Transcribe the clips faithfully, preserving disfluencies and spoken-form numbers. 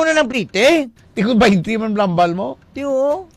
Ano nang plite? Tingog twenty man lambal mo? Di, oo.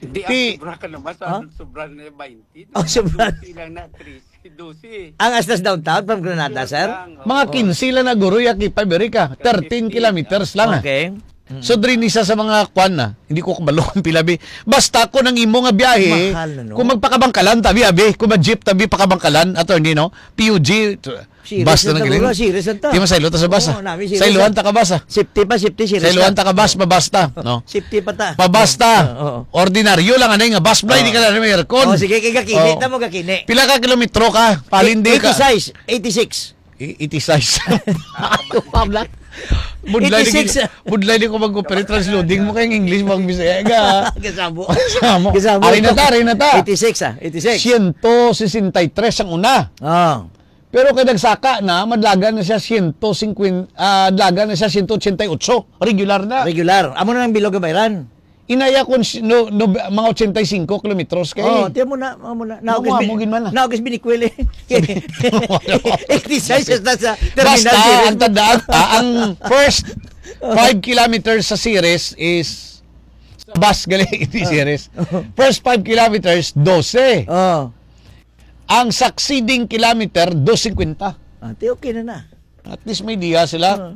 Hindi, ang Ti- sobra ka naman sa Ha? sobra na twenty. Oh, sobra. Dosi lang na, trese, dosi. Ang Astas downtown from Granada, Yun sir? lang, oo. Mga Oh. quince lang na, guro, ya K five, Erika. Thirteen Fifteen, kilometers lang, ah. Okay. Mm. So, diri ni sa, sa mga kwan na. Hindi ko kabalo kung pila, bi. Basta kung ang imo nga biyahe, Mahal na, no? kung magpakabangkalan, tabi, abi. Kung mag-jeep, tabi, pakabangkalan, attorney, no? P U G, Serious bus na na lang ta, gini. Bro. Serious na ta. Di man, saylo ta sa bus, Oo, ah. nami, serious Saylohan na. ta ka bus, ah. Safety pa, safety, serious Saylohan na. ta ka bus, mabasta, no? Safety pa ta. Mabasta. Oo, oo. Ordinaryo lang, anay nga bus, bro, Oo. hindi ka na may aircon. Oh, sige, kay gakini, Oo. tamo gakini. Pila ka kilometro ka? Palindi ka. Eighty-six, eighty-six. I-, eighty-six. Pabla. Budlay ni Eighty-six. Budlay ni ko mag-operate transloading mo kay English, mag Bisaya ka. Kasabo. Kasabo. Kasabo. Ari na ta, ari na ta. Eighty-six, ah, eighty-six. Siyento sesenta y tres ang una. Oh. Pero kay nagsaka na, madlagan na siya siyento singkwenta, ah, dlagan na siya siyento ochenta y ocho. Regular na. Regular. Amo na ang bilog nga bayran. Inaya kon si-, no, no, mga ochenta y cinco kilometros kay. Oh, tiyan mo na, amo na. Naugis Nakuha bin-, mo gid man na. naugis binikwil eh. Sabi, eighty-six hasta sa terminal Basta, series. ang tandaan, ah, ang first five kilometers sa series is sa bus gali, hindi Ah. series. First five kilometers, dose. Oh. Ang succeeding kilometer, dos cinquenta. Ah, ti okay na na. At least may diya sila. Ah.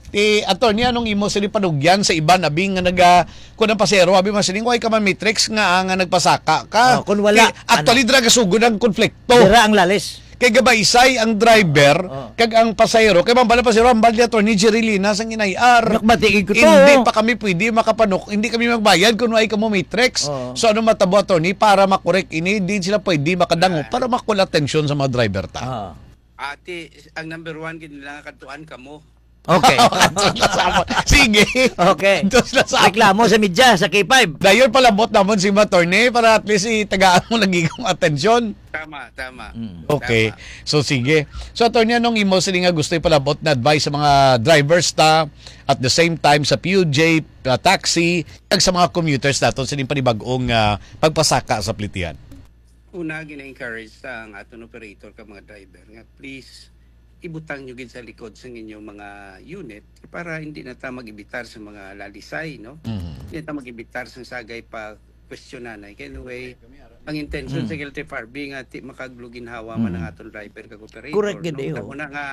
Ti, attorney, anong imo sila panugyan sa iban, abi nga naga-, kun ang pasero, abi man sining, "Why ka man matrix nga, ah, nga nagpasaka ka?" Oh, kun wala, Ti, actually, ano? dira gasugod ang konflikto. Dira ang lalis. Kay gabaisay ang driver, Oh. kag ang pasahero, kay mambal ang pasahero, "Ambal ni Attorney Jerry Linas ang inayar. Nakabati ko to." Hindi pa kami pwede makapanuk-, hindi kami magbayad kung why ka mo matrix. Oh. So, ano matabo, attorney, para makorek ini? Di sila pwede makadango Ah. para makuha atensyon sa mga driver ta. Ah. Ati, ang number one, gid nila nga kadtuan kamo. Okay. Kadto na sa amon. Sige. Okay. Kadto na sa amon. Reklamo sa media, sa K five. Dayon palabot namon si Attorney para at least itagaan mo lagi kong atensyon. Tama, tama. Mm. Okay. Tama. So, sige. So, Attorney, anong imo sini nga gusto ipalabot na advice sa mga drivers ta, at the same time sa P U J, uh, taxi, kag sa mga commuters naton sa ining panibag-ong, uh, pagpasaka sa plitihan? Una, gina-encourage ta ang aton operator kag mga driver nga please ibutang nyo gid sa likod sang inyong mga unit para hindi na ta mag-imbitar sa mga lalisay, no? Mhm. Hindi na ta mag-imbitar sang sagay pa kwestiyonan. Kay anyway, ang intention Mm. sa L T F R B nga ti makagluginhawa man ang Mm. aton driver kag operator, Correct gid, no? eh, Tamo oh. na nga,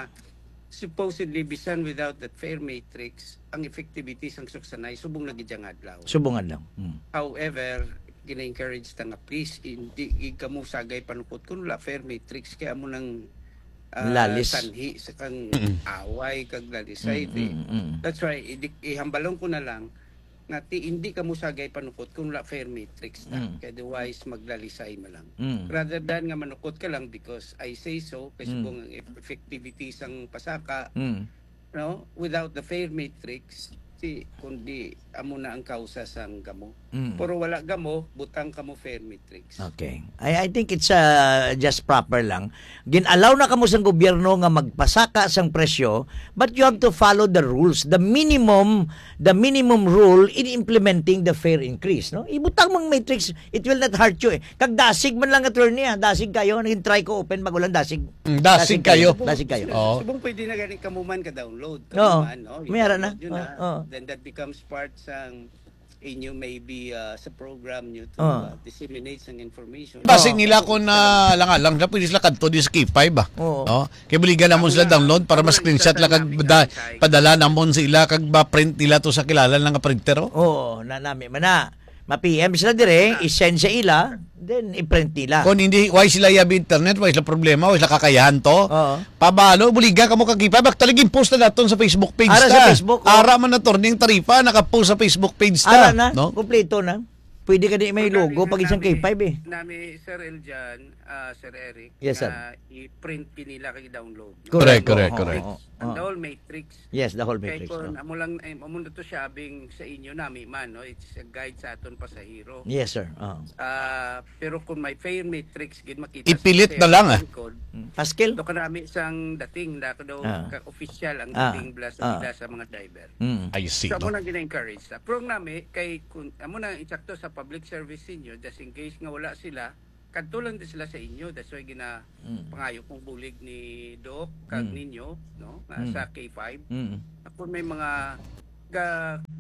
supposedly, bisan without that fare matrix, ang effectivity sang suksanay subong na gid ang adlaw. Subong adlaw. Mm. However, gina-encourage ta nga please, hindi gid kamo sagay panukot kun wala fare matrix, kay amo nang, ah, Lalis. sanhi sa kang Mm. away kag lalisay, Mm, eh. mm, mm. That's why, i-, ihambalon ko na lang nga ti-, hindi kamo sagay panukot kun wala fare matrix ta. Mm. Kay otherwise, maglalisay man lang. Mm. Rather than nga manukot ka lang because I say so, kay Mm. subong ang eff-, effectivity sang pasaka, Mm. no? Without the fare matrix, ti, kundi amo na ang kausa sang gamo. Mm. Pero wala gamo, butang kamo fare matrix. Okay. I, I think it's, uh, just proper lang. Gin-allow na kamo sang gobyerno nga magpasaka sang presyo, but you have to follow the rules, the minimum, the minimum rule in implementing the fare increase, no? Ibutang mong matrix, it will not hurt you, eh. Kag dasig man lang, attorney, ah. Dasig kayo. Naging try ko open, bago lang dasig. Mm, dasig Dasig kayo. kayo. Dasig kayo. Oo. Subong pwede na gani kamo man ka-download. Kamo Oo. man, no? May ara na. I-download nyo na. Oo, oo. Then that becomes part sang inyo maybe, ah, sa program nyo to, Oo. ah, disseminate sang information. Basig Oo. nila kung, ah, lang-alang na pwede sila kadto di sa K five, ah. Oo. No? Kay buligan namon Ako sila nga, download para ako nga, ma-screenshot isa lang sa kag namin da-, ang insight. padala namon sa ila kag ma-print nila to sa kilala lang nga printer, oh. Oo, na nami man na. Ma-P M sila dire, Ah. i-send sa ila, then i-print nila. Kung hindi, why sila yabi internet, why sila problema, why sila kakayahan to? Oo. Pabalo, buligan kamo kag K five, actually, gin-post na naton sa Facebook page Ara sa ta. Facebook, oh. Ara man na, attorney, ang taripa, naka-post sa Facebook page ta, Ara na, no? Kompleto na. Pwede ka di may Ang logo kami pag isang nami, K five, eh. nami, Sir Eljan, ah, Sir Eric, Yes, sir. nga i-print kinila kag i-download. Correct, Correct, correct, oo, correct. oo, Ang oo. the whole matrix. Yes, the whole Kay matrix, kung no? amo lang, eh, amo na to siya, abing sa inyo, nami man, no? It's a guide sa aton pasahero. Yes, sir. Oo. Ah, pero kung may fare matrix, gid makita sa Ipilit na lang, ah. lingkod, Mm. Paskil? do ka nami sang dating, da ka daw Ah. ka-official ang Ah. dating bla sa Ah. pila sa mga driver. Mm. I see, So, amo no? nang gina-encourage sa. Pero ang nami, kay, kung, amo na, insakto sa public service ninyo, just in case nga wala sila, kadto lang din sila sa inyo. That's why gina-, Mm. pangayo kong bulig ni Doc, kag Mm. ninyo, no, nga Mm. sa K five. Mm. Kung may mga ka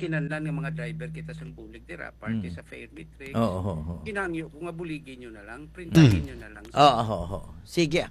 kinahanglan nga mga driver kita sang bulig dira, parte Mm. sa fare matrix. Oo, oo, oo. Ginhangyo ko nga buligi nyo na lang, printahin Mm. nyo na lang. Oo, oo, oo. Sige.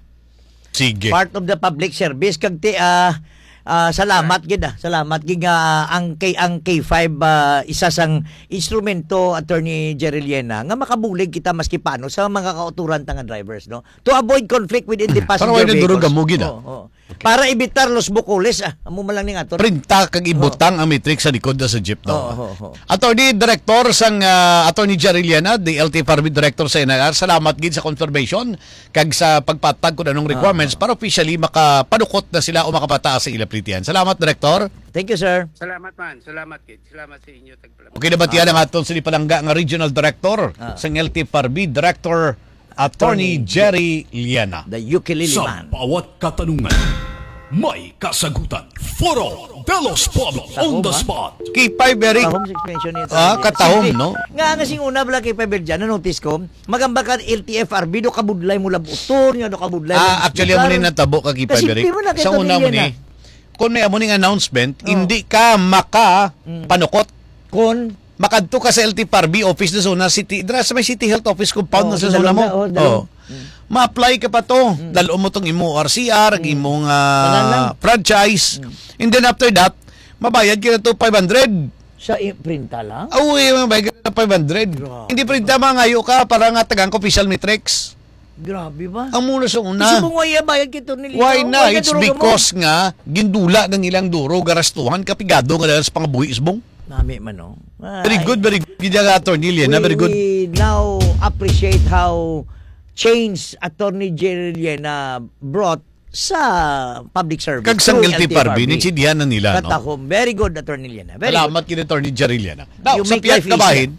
Sige. Part of the public service. Kag ti, ah, ah, salamat gid, ah. Salamat gid nga ang K, ang K five, ah, isa sang instrumento, Attorney Jerry Liena, nga makabulig kita maski paano sa mga kauturan ta nga drivers, no? To avoid conflict within the Para passenger wala na durog vehicles. Amo gid, ah. Oo, oo. Okay. Para evitar los bukulis, ah. Amo man lang ning aton. Printa kag Oo. ibutang ang matrix sa likod na sa jeep, no? Oo, oo, oo. Attorney Director sang, ah, Attorney Jerry Liena, the L T F R B Director sa N I R, salamat gid sa confirmation kag sa pagpatag kung anong Ah, requirements ah. para officially makapanukot na sila o makapataas sa ila plitihan. Salamat, Director. Thank you, sir. Salamat man. Salamat, kid. Salamat sa inyo, tagpalabas. Okay, nabatian Ah. ang aton sini palangga nga Regional Director Ah. sang L T F R B, Director Attorney Attorney Jerry Liana. The ukulele Sa man. bawat katanungan, may kasagutan. Foro de los Pueblos, Tahom, on the ha? spot. K five, Eric. Tahom six mention niya, Ah, Attorney Jerry. katahom, Sige. no? Nga, nga sing una, bala, K five, Eric, dyan, na-notice ko, magamba ka L T F R B, do kabudlay mo labuton, nga do kabudlay mo Ah, actually, amo ni natabo ka, K five, Kasi Eric. di mo na Sa kita una mo nila ni, na. kung may amo ning announcement, Oh. hindi ka maka Mm. panukot. Kon makadto ka sa L T F R B office na sa una, city, dira sa may City Health Office compound Oh, na sa una mo. Sinalonga, oh, dalawa. Oh. Mm. Ma-apply ka pa to. Mm. Dalo mo tong imo R C R, ang Mm. imong, ah, Tanan lang. franchise. Mm. And then after that, mabayad ka na to five hundred. Sa i-, printa lang? Ah, oo, eh, mabayad ka na five hundred. Grabe. Hindi printa, mangayo ka para nga tagaan ka official matrix. Grabe ba? Amo na sa una. Kasi mo nga iya bayad kay Attorney Why Lino? na? Why It's na duro ka mo? because nga gindula ng ilang duro, garastuhan, kapigado nga dahil sa pangabuhi, Isbong. Nami man, no? Very Ay. good, very good. Gid ang Attorney Liana, We, very good. we now appreciate how change Attorney Jerry Liana brought sa public service Kag sang through L T F R B, L T F R B. Naintindihan na nila, no? Katahom. Very good, Attorney Liana. Very Salamat good. kay Attorney Jerry Liana. Now, You sa make pihak life na easier. bahin,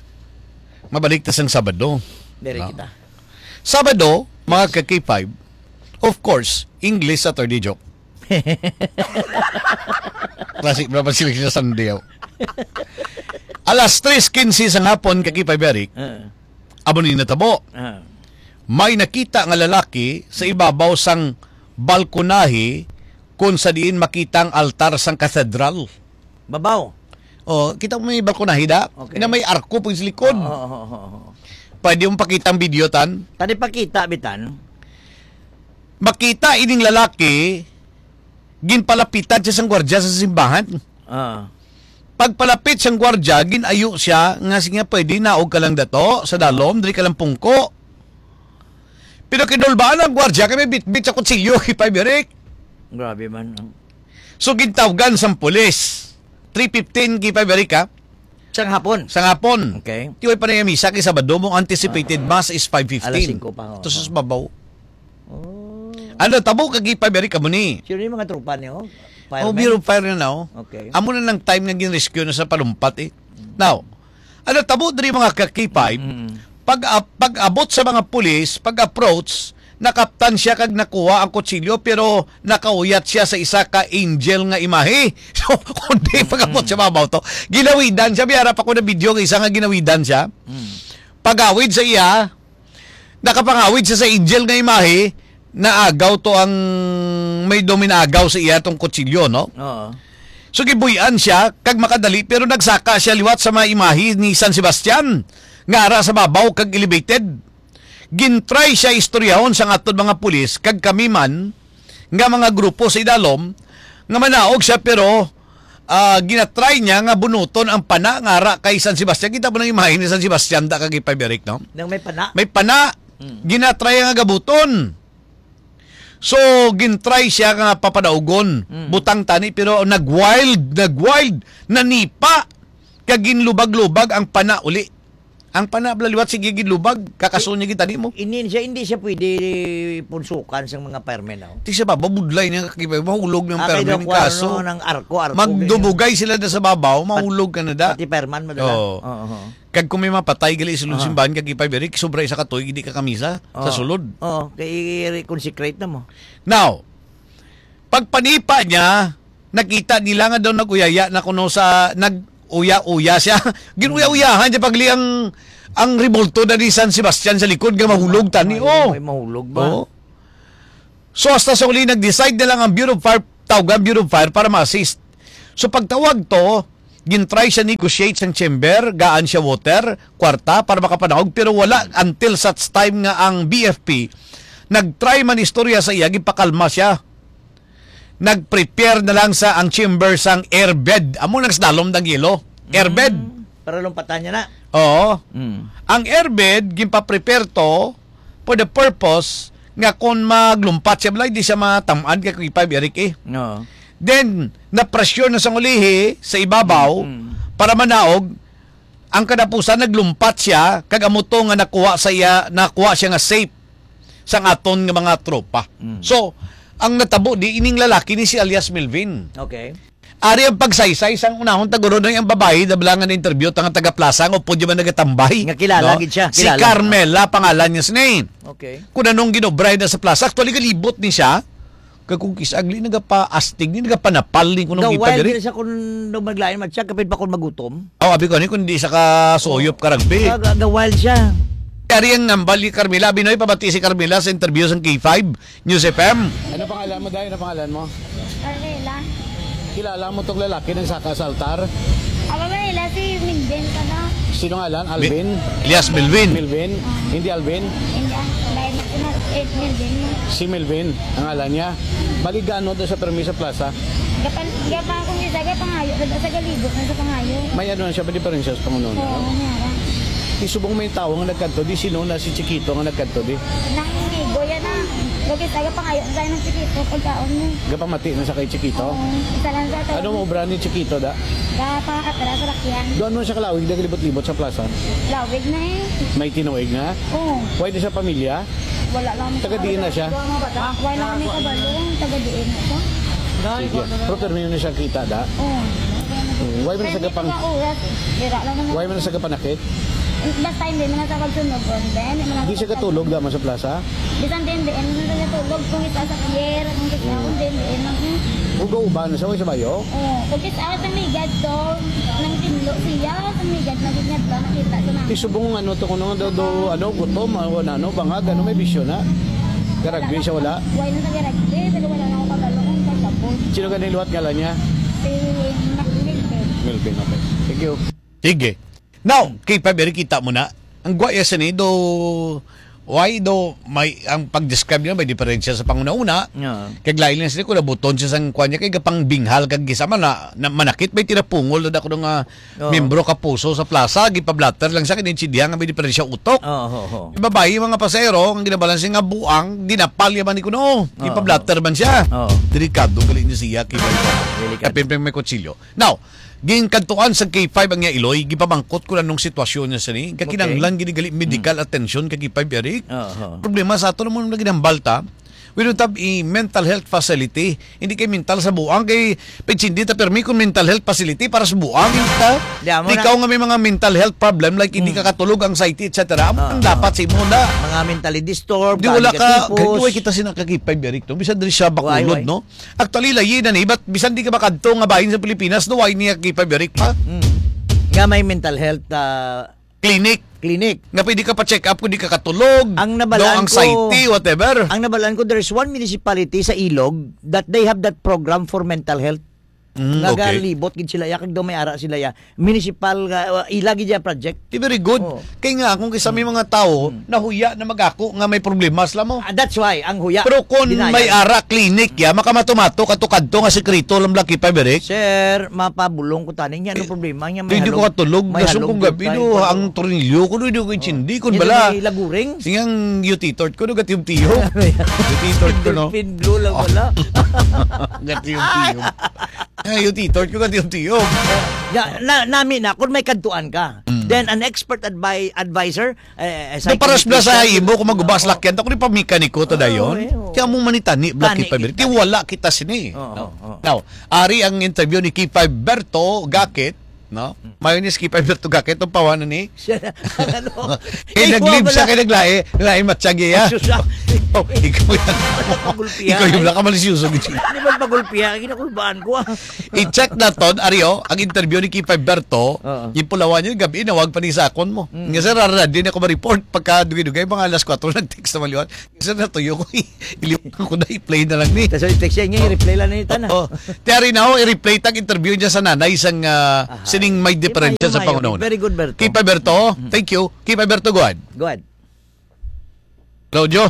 mabalik ta sang Sabado. Very No? kita. Sabado, mga ka-K five, of course, English Saturday joke. Classic, bro, pag sila sa Sunday, oh. Alas tres quince sa hapon, ka-K five, Eric, Ah. amo ni natabo. Ah. May nakita nga lalaki sa ibabaw sang balkonahe kung sa diin makita ang altar sang katedral. Babaw. Oh, kita mo may balkonahe da? Okay. Na may arko pag sa likod. Oo, oo, oo, oo. Pwede mo pakita ang video, tan? Tani pakita, bitan. Makita ining lalaki, ginpalapitan siya sang gwardya sa simbahan. Ah. Pagpalapit sang gwardya, ginayo siya nga, "Sige, pwede, naog ka lang dato sa dalom, diri ka lang pungko." Pero kinulbaan ang gwardya kay may bitbit sa kutsilyo, K five, Eric. Grabe man. So, gintawgan sang pulis. Three fifteen, K five, Eric, ha? Sang hapon? Sang hapon. Okay. Tiway pa na yung misa kay Sabado mo, anticipated Ah. mass is five fifteen. Alas singko pa, oo. Ito sa babaw. Oh. Ano, tabo ka, K five, Eric, kamo ni? Sino yung mga tropa niyo? Oh, Firemen? Bureau of Fire na, oh. Okay. Amo na ng time nga gin-rescue na sa palumpat, eh. Now, ano, tabo diri, mga ka-K five, Mm. pag, ah, pag-abot sa mga pulis, pag-approach, nakaptan siya kag nakuha ang kutsilyo, pero nakauyat siya sa isa ka angel nga imahe. So, kundi Mm. pag-abot sa babaw to, ginawidan siya. May harap ako na video nga isa nga ginawidan siya. Mm. Pagawid sa iya, nakapangawid siya sa angel nga imahe, naagaw to ang, may daw may naagaw sa iya tong kutsilyo, no? Oo. So, gibuy-an siya, kag makadali, pero nagsaka siya liwat sa mga imahe ni San Sebastian, nga ara sa babaw kag elevated. Gintry siya istoryahon sang aton mga pulis, kag kami man, nga mga grupo sa idalom, nga manaog siya, pero, ah, ginatry niya nga bunuton ang pana nga ara kay San Sebastian. Kita mo nang imahe ni San Sebastian, da, kag K five, Eric, no? Nang may pana? May pana. Mm. Ginatry nga gabuton. So, gintry siya nga papadaugon. Mm. Butang tani, pero nag-wild, nag-wild, nanipa, kag ginlubag-lubag ang pana uli. Ang pana, bala, liwat, sige, ginlubag, kakaso niya gid tani mo. Hindi siya, hindi siya pwede punsukan sa mga firemen, oh. Di siya ba, babudlay niya, kag mahulog ng Ah, kay firemen, daw kuwan, kaso. no, ng arko, arko, ganyan. Magdumugay sila na sa babaw, mahulog ka na da. Pati fireman, madala. Oo. Oo, oo. Kag kung may mapatay gali sa sulod Aha. simbahan, kag ipay, Eric, sobra isa ka tuig, hindi ka kamisa sa Oo. sulod. Oo, kay i-consecrate na mo. Now, pagpanipa niya, nakita nila nga daw nag-uyaya na kuno sa, nag-uya-uya siya. Ginuya-uyahan niya pagli ang, ang rebulto na ni San Sebastian sa likod nga mahulog tani, Ay, oh. may mahulog ba? Oo. So, hasta sa uli, nag-decide na lang ang Bureau of Fire, tawag ang Bureau of Fire para ma-assist. So, pagtawag to, Gintry siya negotiate sang chamber, gaan siya water, kwarta para makapanaog, pero wala until such time nga ang B F P nag-try man istorya sa iya, gipakalma siya. Nag-prepare na lang sa ang chamber sang airbed. Amo nang slalom dang yelo. Airbed. Mm, para lumpatan niya na. Oo. Mm. Ang airbed, ginpa-prepare to for the purpose nga kung maglumpat siya, balay, di siya matam-an kay Kuya Five Eric eh. No. Then, na-pressure na sa ulihi, sa ibabaw, Mm. para manaog, ang kadapusan naglumpat siya, kag amo to nga nakuha sa iya, nakuha siya nga safe sang aton nga mga tropa. Mm. So, ang natabo di ining lalaki ni si alias Melvin. Okay. Ari ang pagsaysay sang unahon taguro na ang babayi, dabla nga na-interview ta nga taga Plaza, nga upod man nagatambay, Nga kilala no? gid siya, Si kilala. Carmela pangalan niya sini. Okay. Kung anong ginobra na sa Plaza, actually galibot ni siya. Kag kung kis-, agli nagapaastig ni, nagapanapal ni kuno Gawild gipagari. Din siya kung daw maglain man siya, kapit pa kung magutom. Oh, abi ko ni kung di sa ka suyop ka rugby. Ga-, ga-, gawild siya. Ari ang nambal ni Carmela. Binoy, pabati si Carmela sa interview sa K five News F M. Ano pangalan mo, Day? Ano pangalan mo? Carmela. Kilala mo tong lalaki nang saka sa altar? Aba, wala, si Minjen ka na. Sino ngalan? Alvin? Elias Melvin. Melvin? Ah. Hindi Alvin? Hindi, ah, lain na sila. Eh, Melvin mo. Si Melvin, ang ngalan niya. Baligano doon sa permi sa plaza? Gapan, gapan kung isa, gapangayo na sa galibot na sa pangayo. May ano na siya, may diferensya sa panguno na? Oo, meron. Isubong may tao nga nagkanto, di sino na si Chiquito nga nagkanto, di? Nangigo yan, ah. Kung isa, gapangayo na tayo ng Chiquito, pagkaon mo. Gapamati na sa kay Chiquito? Oo, isa lang sa taon. Ano mo obra ni Chiquito, da? Gapakatra sa lakyan. Doon mo siya kalawig, naglibot-libot sa plaza? Lawig na eh. May tinuig na? Oo. Why di sa pamilya? Wala lang. Taga diin na siya? Wala lang may kabalo. Taga diin na siya? Sige. Pero permi na siya kita, da? Oo. Hmm, why man sa Permi gapang-, mga oras. Dira lang naman. Why man sa gapanakit? Basta hindi man sa pagsunog, then, hindi man Di siya katulog, da, man sa plaza? Bisan din, di, ano na tulog, kung isa sa pier, kung isa, kung din, di, ano, hmm. Uga-uba na siya, sa bayo? Oh, kung isa sa migad to, nang tinlo siya, sa migad, naging ngadla, nakita sa namin. Isubong ano to, kuno, do, do, ano, gutom, ano, ano, bangag, ano, may bisyo na. Garagbi siya, wala? Wala na sa garagbi, pero wala na ako kabalo kung saan siya po. Sino ka niluwat ngalan niya? Si Mac-, Melvin. Melvin, okay. Thank you. Sige. Now, kay Paberi, kita mo na, ang gwaya sa ni, do, why do, may, ang pag-describe niya may diferensya sa panguna-una. Yeah. Kag lain lang sila kung nabuton siya sang kwan niya, kay gapang binghal kag gisa man na, na manakit, may tinapungol na ako nga Oo. membro ka puso sa plaza, gipablatter lang siya, kinintindihan nga may diferensya utok. Oo, oo, oo. Yung babae, mga pasahero, ang ginabalan siya nga buang, dinapal niya man ni kuno, Oo. gipablatter man siya. Oo. Delikado, gali niya siya, kay Delikado. Kapin may kutsilyo. Now, ginkantuan sa K five ang iya iloy, gipamangkot ko anong sitwasyon niya sini. Kakinahanglan Okay. gid gali medical Mm. attention kay K five, Eric. Aha. Problema sa ato naman na ginhambal ta, we don't have a mental health facility. Hindi kay mental sa buang, kay pitsindi ta permi kung mental health facility para sa buang. Hindi ta. Di, amo na. Ikaw nga may mga mental health problem, like hindi Mm. ka katulog, anxiety, et cetera. Amo Ah, ang ah. dapat sa imo na. Mga mentally disturbed, Di wala galing ka, katipos. Kay kita sina ka K five, Eric, no? Bisan diri siya Why, Bacolod, why? no? Actually, layi na ni, but bisan di ka makadto nga bahin sa Pilipinas, no, why niya gipabirik pa? Mm. Nga may mental health, ah, Clinic. clinic. Nga pwede ka pa-check up kung di ka katulog, Ang nabalaan no, anxiety, ko, whatever. ang nabalaan ko, there's one municipality sa Ilog that they have that program for mental health. Mm, Nga okay. galibot gid sila ya, kag daw may ara sila ya. Municipal, ah, ila gid ya project. Di very good. Oo. Kay nga, kung kisa may Mm. mga tao, Mm. nahuya na magako nga may problema sila mo. Ah, that's why, ang huya, Pero kung denial. may ara clinic ya, makamato-mato, kadto-kadto nga sikreto lang, Blacky Five, Eric. Sir, mapabulong ko tani, nga ano Eh, problema niya? May hindi ko halog-, katulog, may gasong kong halog gabi, tayo, no, pero ang tornilyo ko, no, hindi ko intindi, kung Hindi bala. may laguring? Singang yuti tort ko, no, gatiyom-tiyom. Yuti tort ko, no? Endorphin blue lang Oh. wala. Gatiyom-tiyom. Ay, yuti tort ko, gatiyom-tiyom. Ya, na, nami na, kung may kadtuan ka, Mm. then an expert advi-, advisor, eh, eh, So, para sa psychologist, sa imo, kung magubas oo. lakyan, ako ni pamekaniko to Oo, dayon. eh, oo. Kaya mo manitani, Black Tani K five. kita. Ti wala kita sini. Oo, No? oo. Now, ari ang interview ni K five Berto Gakit, no? Mm. Ayaw ni Skip Alberto Gakay, itong pawanan ni. Siya na, ang ano. Eh, Ikaw nag-leave siya, pala. Kay naglae, lain matsyagi, ah. Ay, sus, ah. Oh, ikaw yan. Ba't nagpagulpihan? Ikaw yung Eh, nakamalisyoso, gid. Di ba pagulpihan? Kinakulbaan ko, ah. I-check naton, Ario, ang interview ni Kipa Berto, Oo. Yung pulawan niya, gabi, nawag pa ni sakon mo. Mm. Nga, sir, rara, di na ako ma-report pagka dugay-dugay, mga alas kwatro, nag-text na maliwan. Sir, natuyo ko, eh. Iliwan ko na, i-play na lang ni. Tas i-text siya, nga, i-reply lang ni Tana. Oo. Ti Arinaw, i-replay tag interview niya sa nanay sang, ah, Aha. sining may Ay, diferensya lumayo, sa lumayo. Pangunauna. Very good, Berto. Keep Alberto, Mm. thank you. Keep Alberto, go ahead. Go ahead. Claudio,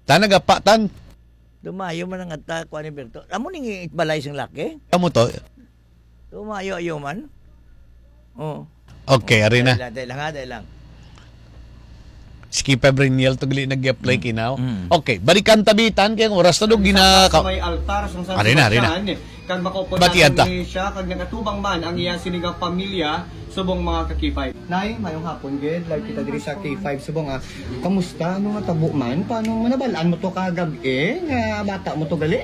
tan nagapa, tan. Lumayo man ang ata, kuan ni Berto. Amo ning balay sing laki? Amo to. Lumayo-ayo man. Oh. Okay, ari na. Dahil lang, dahil lang, ha, dahil lang. Si Kipa Briniel to gali nag-apply Mm. kinaw. Mm. Okay, balikan tabitan kay ang oras na dog gina- Sa may altar sang San Ari na, ari na. Sebastian, kag makaupod Batian naton ta. ni siya, kag nagatubang man ang iya sini nga pamilya, subong mga ka-K five. Nay, mayong hapon gid. Live kita diri sa K five subong, ah. Kamusta? Ano nga tabo man? Paano mo nabalaan mo to kagab-i nga bata mo to gali?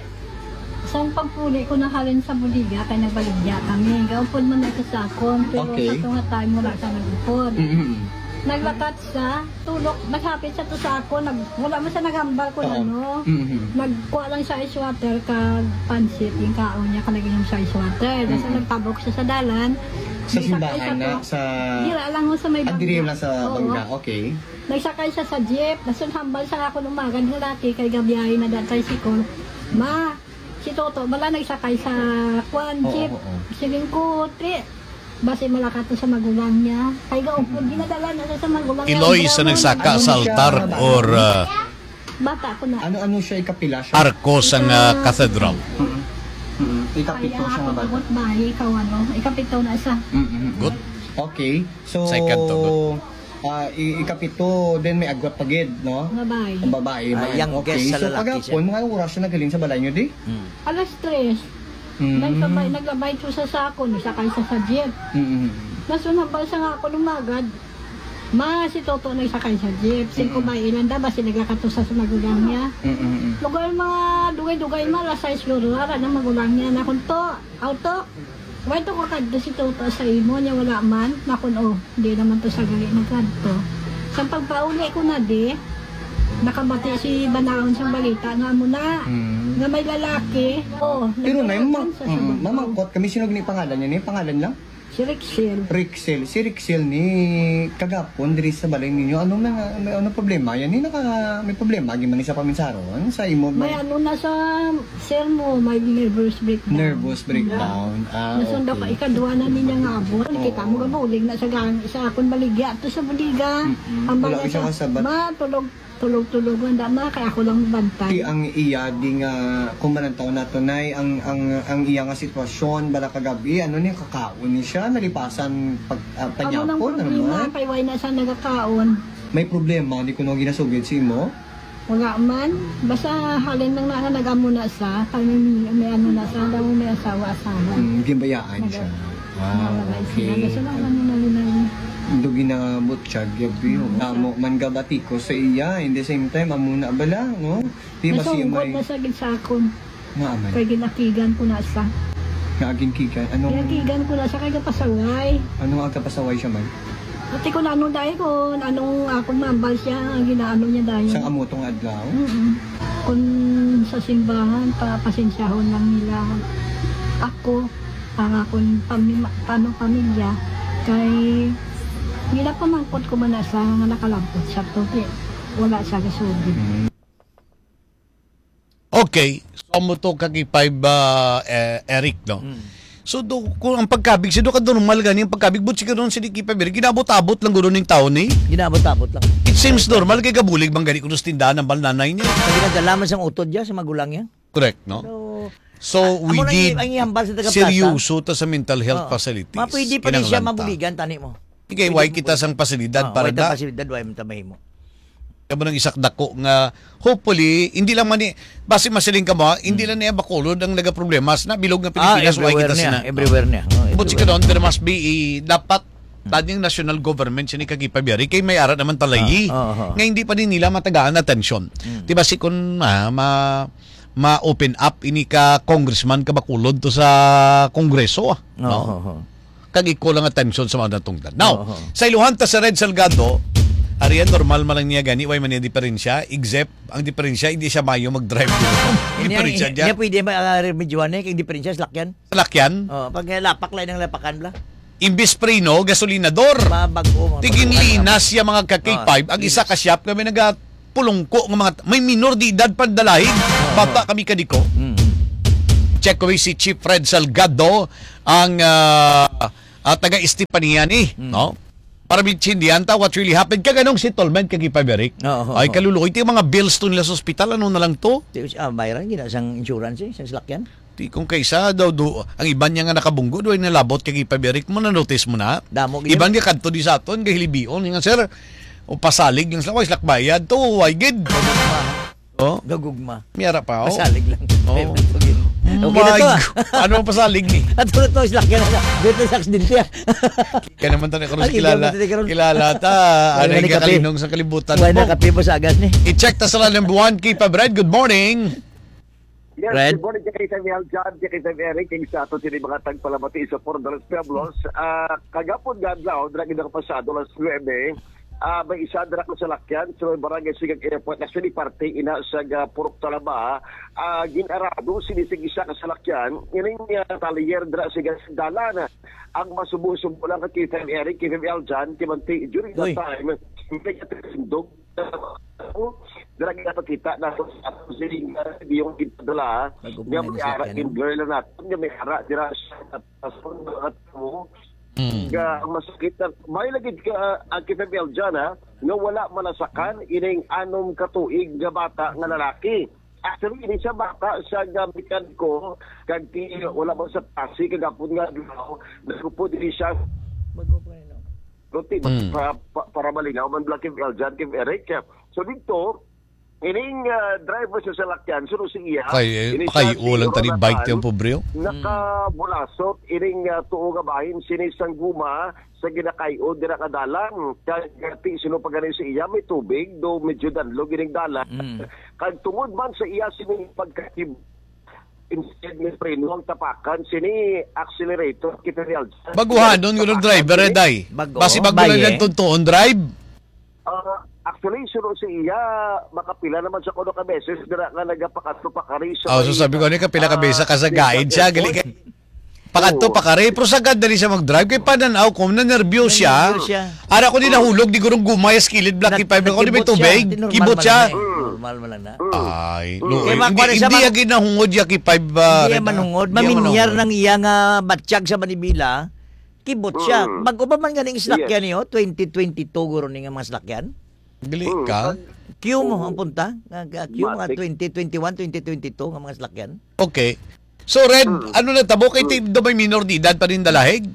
Sang pagpuli ko na halin sa bodega kay nagbaligya kami. Gaupod man na sa sakon, pero Okay. sa tunga time wala siya nag-upod. Mm-hmm. Naglakat siya, tulok, naghapit siya to sa ako, nag, wala man siya naghambal kung Oo. ano. Mm-hmm. Nagkuha lang siya ice water kag pansit, yung kaon niya, kag nag-inom siya ice water. Tapos Mm-hmm. nagtabok siya sa dalan. Sa Nagsakay simbahan siya na, to. sa Dira lang ho sa may Ah, diri bangka. lang sa Oo. bangka, okay. Nagsakay siya sa jeep. Tapos hambal siya ako ng umaga, ng laki, kay gabiyahe na daan tricycle. Ma, Si Toto, bala nagsakay sa kwan, Oo, jeep. oo. Siling ko, "Ti, basi malakat to sa magulang niya." Kay gaupod, Mm. ginadala na siya sa magulang niya, Iloy ang sa drama. Nagsaka Ano sa siya, altar bata? or, uh, Bata ko na. Ano, ano siya, ikapila siya? Arko sang, uh, Ah. cathedral. Mm. Mm. Ikapito Kaya siya nga ako bata. Abot ba, ikaw ano, ikapito na siya. Mm, mm, mm. Good. Okay. So, Second to, good. Ah, i-, ikapito, then may agwat pa gid, no? Babae. Ang babae Ah, man. youngest Okay, sa so lalaki kagapon, siya. Mga oras siya naghalin sa balay niyo, di? Mm. Alas tres. Mm. Nagsabay, naglabay siya sa sako, nagsakay siya sa jeep. Mm, mm, mm. Nasunod pa siya nga ako lumagad. Ma, si Toto nagsakay sa jeep. Singko Mm. ba ilan da, basi naglakat to sa, sa magulang niya. Mm, mm, mm. Lugar mga dugay-dugay, ma, alas sais siguro, ara na magulang niya. Nakon to, auto. Why to ka kadto si Toto sa imo niya wala man? Nakon, oh, di naman to sa gali nagkadto. Sa pagpauli ko na di, nakabati si Banaon sa balita nga amo na, Mm. nga may lalaki. Oh, Pero na, nagkalakan ma-, sa mm, sabag ko. Mamangkot kami, sino gini pangalan niya ni? Pangalan lang? Si Rexel. Rexel. Si Rexel ni kagapon diri sa balay ninyo. Ano na nga, may ano problema? Yan, ni naka, may problema, gid man ni sa paminsaron? Sa imo, May may ano na sa Sir mo, may nervous breakdown. Nervous breakdown. Ah, Nasundo ka, okay. Ikadwa na niya nga abot. Oo. Kita mo, gabulig na sa gang-, sa akon baligya. Ato sa bodega. Mm-mm. Ang Wala bala siya sa, kasabat. Ma, tulog, tulog-tulog, wala ma, kaya ako lang bantay. Ti ang iya di nga, kung manantaw nato, Nay, ang, ang, ang iya nga sitwasyon, bala kagabi, ano ni, kakaon ni siya, nalipasan pag, ah, Amo nang panyapon, ano problema, man? Kay why na siya nagakaon? May problema, di ko nung ginasugid si imo? Wala man. Basta halin lang na, na nag-amo na sa, kami may, may ano na sa, daw may asawa, asawa. Mm, ginbayaan siya. Nag-, Ah, nawalay sila. okay. Basta lang ano na rin na yun. Ando ginabot siya, gabi, oh. Mm, Namo siya. Man gabati ko sa iya. In the same time, amo na bala, no? Di ba siya Nasungkot may na sa gid sa akon. Nga man. Kay ginakigan ko na sa. Nga agin kigan? Anong Ginakigan ko na sa kay gapasaway. Anong agapasaway siya man? Ate ko na ano dahil ko, anong akong mambal siya, ang ginaano niya dahil. Sang amo tong adlaw? Mm-mm. Kung sa simbahan, papasensyahon lang nila ako, ang akong pami-, paano pamilya, kay ginapamangkot ko man na sa nga nakalabot siya to, kay wala siya gasugid. Mm. Okay, so amo to ka K five, ah, eh, Eric, no? Mm. So, do, kung ang pagkabig, si do ka normal gani ang pagkabig, but siguro si K five Eric, ginabot-abot lang guro ning taon, eh. Ginabot-abot lang. It seems normal, kay gabulig man gani kuno sa tindahan ang bal nanay niya. Pag ginadala man siyang utod niya, sa magulang niya. Correct, no? So, So, amo we lang need ang ihambal sa taga-plaza. Seryoso ta sa mental health Oo. facilities. Ma, pwede pa rin siya Kinahanglan ta. Mabuligan, tani mo. Ikay, Pwede why mo kita pwede. sang pasilidad Oo, para why ta da? Pasilidad, why mo ta mahimo? Kamo nang isak dako nga, hopefully, hindi lang man ni, basi masiling ka mo, ha? Hindi Hmm. lang niya Bacolod ang nagaproblema. Sa nabilog nga Ah, Pilipinas, why everywhere kita niya, sina-, everywhere niya. Oh, But everywhere. Siguro, there must be a, dapat, Hmm. tanyang national government siya ni Kagipabiyari, kay may ara naman talayi. Ah, oo, oo. Nga hindi pa din nila matagaan atensyon. Hmm. Di ba si kun, ah, ma-, ma-open up ini ka congressman ka Bacolod to sa Kongreso, ah, Oo, no? oo, oo. kag i-call ang atensyon sa mga natungdan. Now, Oo. sa iluhan ta sa Red Salgado, arian, normal man lang niya gani, way man niya diferensya, except ang diferensya, hindi siya mayo mag-drive. Ang Hindi, diferensya hindi, dyan. hindi pwede ma-, ah, remedyohan eh, kay diferensya sa lakyan. Sa lakyan? Oh, pag, eh, lapak lang ang lapakan, bla. Imbis preno, gasolinador. Mabago, mga Tiginlinas siya, mga ka-K five, Oh, ang isa ka shop nga may nagapulungko nga mga, may minor de edad pandalahig. Oh, Bata oh. kami kadiko. Mm. Check ko si Chief Fred Salgado, ang, ah, ah, taga Estepania ni, Mm. no? Para maintindihan ta what really happened. Kag anong settlement kag ipabalik? Oo, Ay, oo. kaluluoy. Ti mga bills to nila sa ospital, ano na lang to? Ti, ah, bayran, gina sang insurance eh, sang salakyan. Ti kung kaysa daw do, ang iban niya nga nakabunggo, do ay nalabot kag ipabalik mo, na-notice mo na? Damo gid Iban yun. nga kadto di sa aton, kay hilibion, nga, "Sir, o pasalig lang sila, way sila bayad to, way gid." Oh? Gagugma. Miyara pa, oh. Pasalig lang. Oh. Okay na to, ah. My God. Ano ang pasalig ni? Ato na to, slak yan. Dito sa aksidente, ah. Kaya naman tayo, Cruz, Ay, kilala. kilala tayo, Cruz. Kilala ta. Wala Ano na yung kape. kalinong sa kalibutan Wala mo? na kape mo sa agas ni. I-check ta sa number one, K five Red. Good morning. Yes, Red? good morning, K five L John, K five Eric, king sa ato sini mga tagpalamati sa Fort Dallas Pueblos. Ah, kagapon nga adlaw, dira gid ang pasado alas nuebe, ah, may isa dira ka salakyan sa may barangay Sigang Airport. Actually, parte ina sa ga Purok Talaba, ah, gin-arado sini sa isa ka salakyan, ining, ah, talyer dira sa gas dalan. Ang masubo-subo lang ka K five Eric, K five L John, kimanti during that Uy. time, may katindog. Dira kita pakita na sa ato sining, ah, video nga ginpadala, Bago po nga na may ara, nasakyan, no? in blur lang natin, nga may ara, dira sa, sa, sa, Mm. Nga ang masakit na, may lagi ka, ah, ang K five L dyan, ha, nga wala manasakan ining anom ka tuig nga bata nga lalaki. Actually, ini siya bata sa nga mekaniko, kag ti, wala man sa klase, kagapon nga adlaw, nagupod ini siya. Bago po, ano? Ruti, Mm. pa, pa, para malinaw man, Black Kim Eljan, Kim Eric. So, dito, ining, ah, driver sa salakyan, suno si iya, Kay, eh, ining kay si ulan tani Ronatan, bike yung pobre, oh. nakabulasot, ining, ah, tuo nga bahin, sini sang guma, sa ginakay-o, dira ka dalan. Kag, ah, ti, sino pa gani si iya, may tubig, do medyo danlog ining dalan. Mm. Kag tungod man sa iya, sini pagkatib-, instead ni preno ang tapakan, sini accelerator, kita ni Aljan. Baguhanon, Sini guro, tapakan, driver, eh, sini. day. Bago, Basi bago lang baye. niyang tuntuon drive. Ah, actually, suno si iya, makapila naman sa kuno ka beses dira nga nagapakadto pakari sa Oh, so may, sabi ko, ano, kapila ka ah, beses ka sa guide siya, gali kay pakadto Oo. pakari, pero sagad dali siya mag-drive, kay pananaw ko, nanerbyos siya. Nanerbyos siya. Ara ko din nahulog, di gurong gumay, sa kilid, Black Nag-, Five, ako di may nagkibot siya. tubig, Di, normal kibot man siya. lang eh. Mm. Normal man lang na. Mm. Ay, Mm. lo, Kaya hindi, mga kuwan sa hindi mga agi nahungod ya kay five, ah, Hindi yan manungod. Hindi yan manungod. Maminiyar nang iya nga batyag sa manibila. Kibot siya. Mm. Mag-uba man ganing Yes. slakyan niyo, twenty twenty-two guro ni nga mga slakyan. Dili Mm. ka? Kag Q mo Oo. ang punta. Nga, nga Q, mga Matik. twenty twenty-one, twenty twenty-two nga mga slakyan. Okay. So, Red, Mm. ano na tabo kay Mm. ti-, do may minor de edad pa rin dalahig?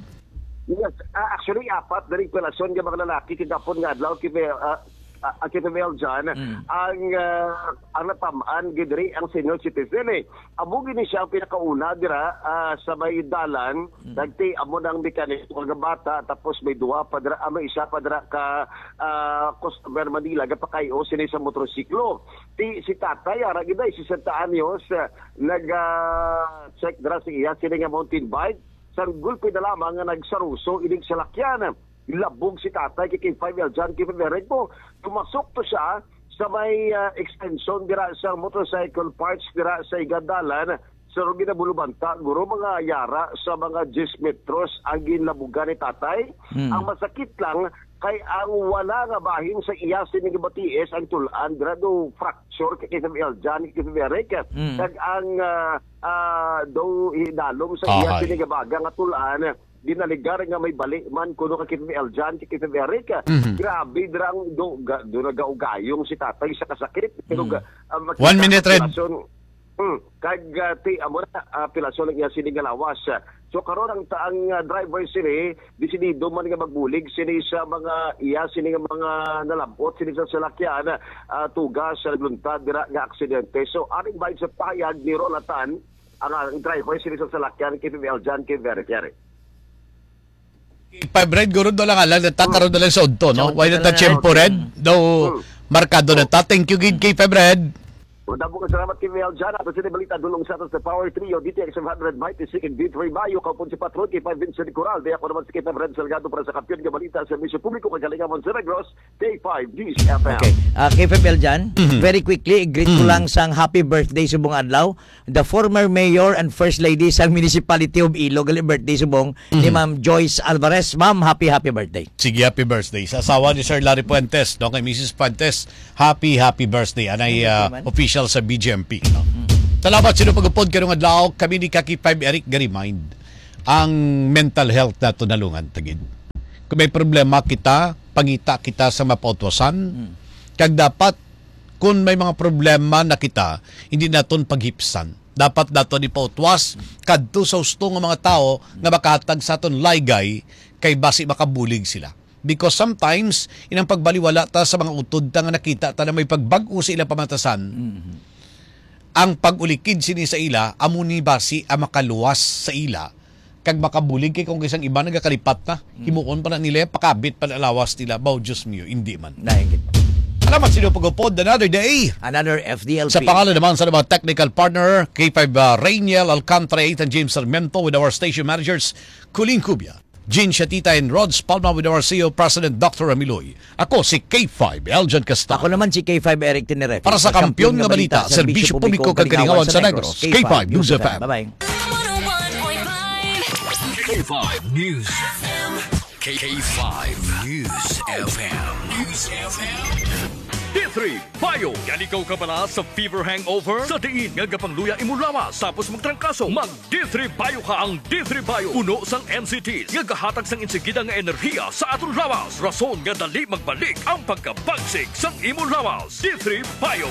Yes. Ah, actually, apat na rin relasyon nga mga lalaki kagapon nga adlaw, kay, ah, ah, ah, K five L dyan, Mm. ang, ah, ang natamaan gid diri ang senior citizen, eh. Amo gini siya ang pinakauna dira, ah, sa may dalan, Mm. nagti amo nang mekaniko nga bata, tapos may duha pa dira, ah, may isa pa dira ka, ah, customer Manila, gapakay-o sini sa motorsiklo. Ti, si tatay, ara gid ay, sesenta anyos, ah, nag, ah, check dira sa iya, sini nga mountain bike, sang gulpi na lamang nga nagsaruso ining salakyan. Labog si tatay kay K five L dyan, K five L Red mo. Tumasok to siya sa may, ah, extension dira sa motorcycle parts dira sa Igadalan. Sa ginabulo banta, guro mga yara sa mga diyes metros ang ginlabugan ni tatay. Hmm. Ang masakit lang, kay ang wala nga bahin sa iya sini nga batiis ang tulan dira do fracture kay K five L dyan, K five L Red. Mm. Kag ang, ah, ah, do hinalom sa iya Ahay. sini nga baga nga tulan, ginaligar nga may bali man kuno ka K five L dyan, K five L Red. Mhm. Grabe, dira ang do, ga, do nagaugayong si tatay sa kasakit. Pero Mm. ga, ah, makita One minute, sa Red. relasyon, Mm, kag, ah, ti, amo na, ah, pilaso lang iya sini nga lawas. So, karon ang ta-, ang, ah, driver sini, desidido man nga magbulig sini sa mga iya sini nga mga nalabot sini sa salakyan, ah, tuga sa nagluntad dira nga aksidente. So, aning bahin sa pahayag ni Rolatan, ang, ang driver sini sa salakyan, K five L dyan, K five L Red. K five Red, guro, do lang alam na ta, Mm. karon na lang sa udto, no? Sa udto Why na not a lang. Tiyempo, Red? Mm. Daw, Mm. markado na ta. Thank you, gid, K five Red. Madamo nga salamat, K five Eljan. Ato sini balita dulong sa ato sa Power Trio, D T X five hundred, Mighty Sick, and D three Bayo. Kaupon si Patron, K five Vincent Coral. Di ako naman si K five Red Salgado para sa Kampiyon nga Balita sa Serbisyo Publiko kag Kalingawan sa Negros, K five News F M. Okay. Ah, K five Eljan, Mhm. very quickly, greet ko Mhm. lang sang happy birthday subong adlaw, the former mayor and first lady sang Municipality of Iloilo, birthday subong ni Mhm. Ma'am Joyce Alvarez. Ma'am, happy, happy birthday. Sige, happy birthday. Sa asawa ni Sir Larry Fuentes, no, kay Missus Fuentes, happy, happy birthday. Anay, Happy ah, birthday, man. Official sa B J M P, no? Mm. Salamat sa inyong pag-upod karong adlaw. Kami ni Kaki five Eric ga-remind ang mental health nato nalungan tagid. Kung may problema kita, pangita kita sa mapautwasan. Mm. Kag dapat, kung may mga problema na kita, hindi naton paghipsan. Dapat naton ipautwas kadto sa husto nga mga tawo nga makahatag sa aton laygay, kay basi makabulig sila. Because sometimes, inang pagbaliwala ta sa mga utod ta nga nakita ta na may pagbag-o sa ilang pamatasan, Mhm. ang pag-ulikid sini sa ila, amo ni basi ang makaluwas sa ila, kag makabulig kay kung isang iba nagakalipat na, Mm. himuon pa na nila, pakabit pa na lawas nila. Bao, Diyos mio, hindi man. Nainggit. Salamat sa inyong pag-upod. Another day. Another F D L P. Sa pangalan naman sa mga technical partner, K five, uh, Rainiel Alcantara, Ethan James Sarmiento with our station managers, Colleen Cubia, Jean Shatita, and Rods Palma with our C E O President Doctor Ramiloy. Ako si K five, Eljan Castano. Ako naman si K five, Eric Tenerife. Para sa Kampiyon nga Balita, Serbisyo Publiko kag Kalingawan sa Negros, K five News F M. Bye-bye. K five News F M. K five News F M. News F M. D three Bio. Gali kaw kabala sa fever hangover? Sa diin nga gapangluya imo lawas tapos magtrangkaso, mag D three Bio ka. Ang D three Bio puno sang N C Ts nga gahatag sang insigida nga enerhiya sa aton lawas, rason nga dali magbalik ang pagkabagsik sang imo lawas. D three Bio.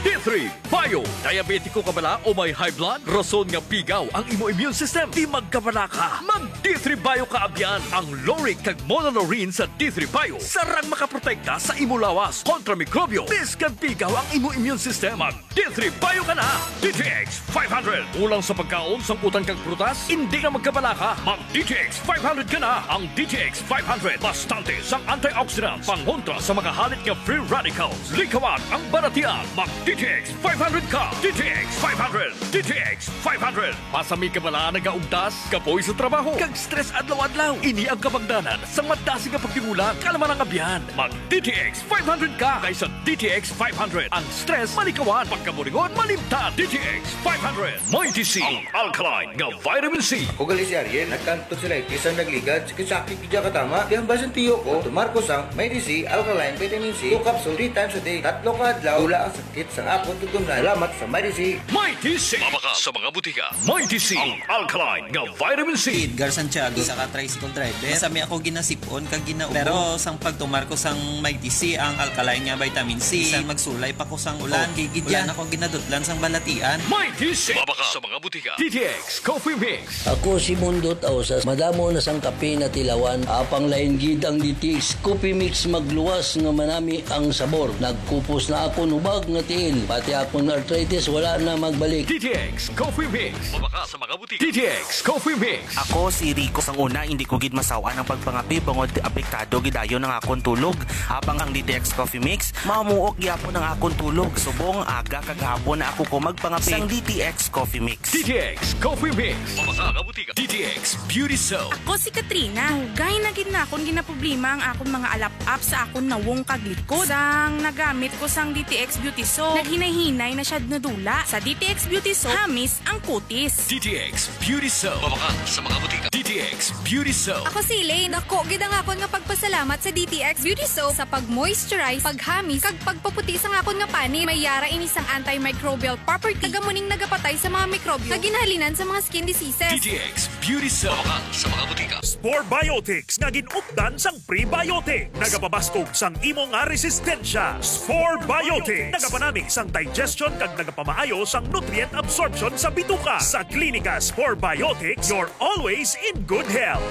D three Bio. Diabetiko ka bala o may high blood? Rason nga pigaw ang imo immune system. Di magkabalaka. Mag D three Bio ka abyan. Ang lauric kag monolaurin sa D three Bio sarang makaprotekta sa imo lawas kontra mikrobyo. Bisan pigaw ang imo immune system, mag D three Bio ka na. D T X five hundred. Kulang sa pagkaon, sangkutan kag prutas? Hindi na magkabalaka. Mag D T X five hundred ka na. Ang D T X five hundred, bastante sang antioxidants, pangontra sa mga halit nga free radicals. Likawan ang balatian. Mag D T X five hundred ka. D T X five hundred. D T X five hundred. Masami ka bala nagaugtas, kapoy sa trabaho, kag stress adlaw-adlaw? Ini ang kabangdanan sang madasig nga pagtimulan. Kalma lang abyan. Mag D T X five hundred ka, kay sa D T X five hundred, ang stress malikawan, pagkaburingon malimtan. D T X five hundred. Mighty C, ang alkaline nga vitamin C. Ako gali si Ariel, nagkanto sa tonsillitis ang nagligad, sakit-sakit gid katama. Kaya ang basin tiyo ko, tumar ko sang Mighty C, alkaline vitamin C, two capsule, three times a day. Tatlo ka adlaw, wala ang sakit sang akon tutunlan. Salamat sa Mighty C. Mighty C. Mabakal sa mga butika. Mighty C, ang alkaline nga vitamin C. Edgar Santiago, isa ka tricycle driver. Masami ako ginasipon kag gina-ubo. Pero sang pagtumar ko sang Mighty C, ang alkaline nga vitamin C, bisan magsulay pa ko sang ulan, Oh, gigid wala yan. Na ko ginadutlan sang balatian. Mighty C. Mabakal sa mga butika. D T X Coffee Mix. Ako si Mundot Ausas. Madamo na sang kape na tilawan. Apang lain gid ang D T X Coffee Mix, magluwas nga manami ang sabor. Nagkupos na akon hubag nga tiil. Pati akon arthritis wala na magbalik. D T X Coffee Mix. Mabakal sa mga butika. D T X Coffee Mix. Ako si Rico. Sang una, hindi ko gid masaw-an ang pagpangape bangod apektado gid dayon ang akon tulog. Habang ang D T X Coffee Mix, mamuok gyapon ang akon tulog. Subong aga kag hapon na ako ko magpangape. Sang D T X Coffee Mix. D T X Coffee Mix. Mabakal sa mga butika. D T X Beauty Soap. Ako si Katrina. Dugay na gid na akon ginaproblema ang akon mga alap-ap sa akon nawong kag likod. Sang nagamit ko sang D T X Beauty Soap, naghinay-hinay na siya nadula. Sa D T X Beauty Soap, hamis ang kutis. D T X Beauty Soap. Mabakal sa mga butika. D T X Beauty Soap. Ako si Elaine. Dako gid ang akon nga pagpasalamat sa D T X Beauty Soap sa pag-moisturize, paghamis, kag pagpaputi sang akon nga panit. May yara ini sang antimicrobial property, kag amo ning nagapatay sa mga mikrobyo nga ginahalinan sa mga skin diseases. D T X Beauty Soap. Mabakal sa mga butika. Spore Biotics nga gin-updan sang prebiotic. Nagapabaskog sang imo nga resistensya. Spore Biotics. Nagapanami sang digestion kag nagapamaayo sang nutrient absorption sa bituka. Sa Klinika Spore Biotics, you're always in good health.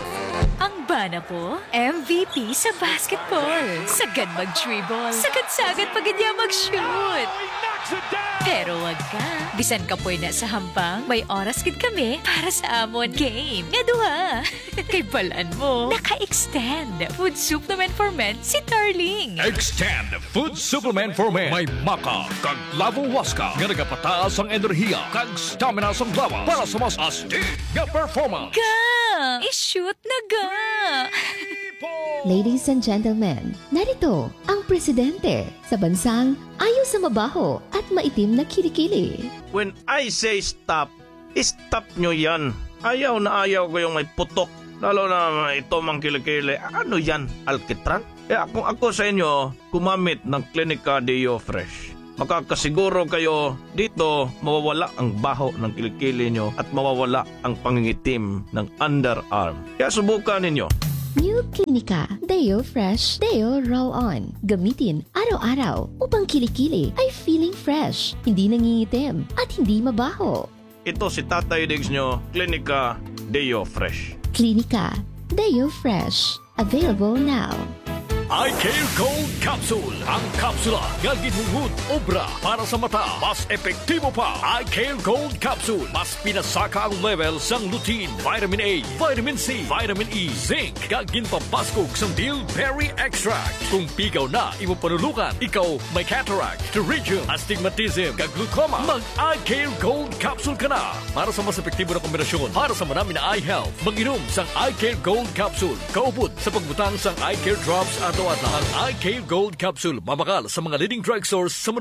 Ang bana ko, M V P sa basketball. Sagad mag-dribble. Sagad-sagad pa gid niya mag-shoot. Oh, he knocks it down! Pero wag ka. Bisan kapoy na sa hambang, may oras gid kami para sa amon game nga duha. Kay balan mo, naka-extend Food Supplement for Men si Tarling. Extend Food Supplement for Men. May maca kag clavo huasca nga nagapataas ang enerhiya kag stamina sang lawas para sa mas astig nga performance. Ga! I-shoot na ga! Ladies and gentlemen, narito ang presidente sa bansang ayaw sa mabaho at maitim na kilikili. When I say stop, stop nyo yan. Ayaw na ayaw ko yung may putok. Lalo na ito mang kilikili. Ano yan? Alkitran? Kaya kung ako sa inyo, gumamit ng Clinica Deo Fresh. Makakasiguro kayo dito mawawala ang baho ng kilikili nyo at mawawala ang pangingitim ng underarm. Kaya subukan ninyo. New Clinica Deo Fresh Deo Roll On. Gamitin araw-araw upang kilikili ay feeling fresh, hindi nangingitim, at hindi mabaho. Ito si Tatay Diggs nyo, Clinica Deo Fresh. Clinica Deo Fresh. Available now. Eye Care Gold Capsule. Ang kapsula nga ginhungod obra para sa mata. Mas epektibo pa. Eye Care Gold Capsule. Mas pinasaka ang level sang lutein, vitamin A, vitamin C, vitamin E, zinc, kag ginpabaskog sang bilberry extract. Kung pigaw na imo panulukan, ikaw may cataract, pterygium, astigmatism, kag glaucoma, mag Eye Care Gold Capsule ka na. Para sa mas epektibo na kombinasyon para sa manami na eye health, mag-inom sang Eye Care Gold Capsule. Kaupod sa pagbutang sang Eye Care Drops adlaw-adlaw. Ang Eye Care Gold Capsule mabakal sa mga leading drugstores sa